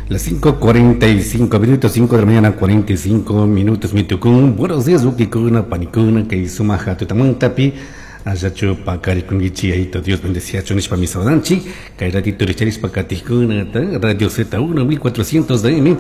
Las 5:45 minutos, 5 de la mañana, 45 minutos, mitucún. Buenos días, wawkikuna, panikuna, kay sumaja tutamantapi. Allachu pakarikunkichi, Yayito Dios bendeciachun nishpami saludanchik. Kay ratito richarishpa katijkunata, Radio Z1, 1400 de AM.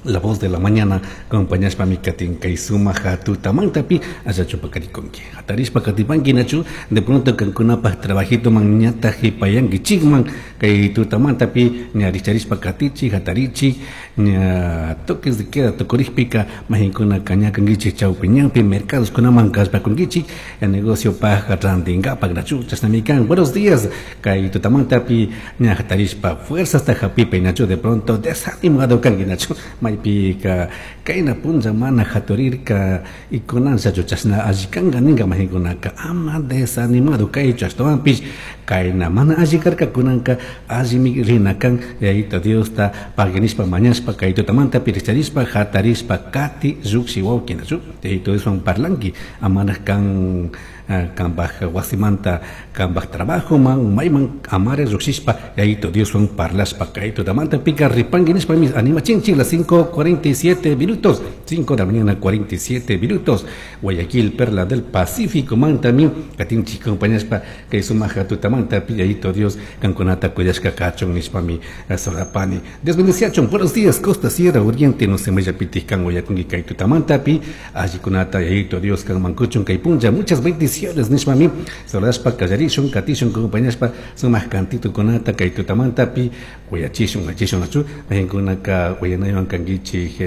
La voz de la mañana acompañashpami katin kay sumaja tutamantapi allachu pakarikunki. Hatarishpa katipanki nachu, de pronto kankunapaj trabajito man ñataj hipayankichikman kay tutamantapi ña richarishpa katichi, hatarichi, ña toques de queda tukurikpika majinkuna ñakankichik chawpi ñanpi mercados kunaman kallpakunkichik negocio paj rantinkapak nachu chashnami kan. Buenos días kay tutamantapi ña hatarishpa fuerzasta hapipi nachu de pronto desanimado kanki nachu maypika kayna punlla mana haturirka y kunanllachu chashna alli kanka ninka majinkunaka ama desanimado kaychu ashtawanpish kayna mana alli karka kunanka allimi rina kan Yayito Diosta pagui nishpa mañashpa kay tutamantapi richarishpa hatarishpa kati lluqshi wawki nachu Yayito Dioswan parlanki amanaj kan kanpaj wasimanta kanpaj trabajoman mayman amare lluqshishpa Yayito Dioswan parlashpa kay tutamantapika ripanki nishpami animachinchik las 5:47 minutos, 5 de la mañana 47 minutos, Guayaquil, Perla del Pacífico mantami katinchik acompañashpa kay sumaja tutamantapi Yayito Dios kankunata kuyashka kachun nishpami solapani. Dios bendeciachun. Buenos días, Costa Sierra Oriente, no se mayapitij kan wayakunki kay tutamantapi allikunata Yayito Dios kanman kuchun kay punlla, muchas bendiciones nishpami saludashpa kallarishun katishun acompañashpa sumaq cantito kunata kay tutamantapi kuyachishun achishun nachu mahinkunaka wayanaywan kankichik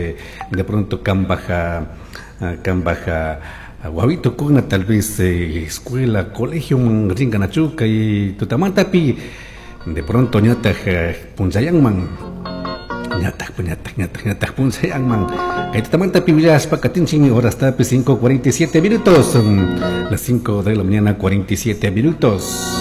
de pronto kanpaj kanpaj wawito kuna tal vez escuela, colegio man rinka nachu kay tutamantapi de pronto ñataj punllayanman ñataj ñataj ñataj ñataj punllayanman kay tutamantapi willashpa katinchikmi horastapi 5:47 minutos, las 5 de la mañana 47 minutos.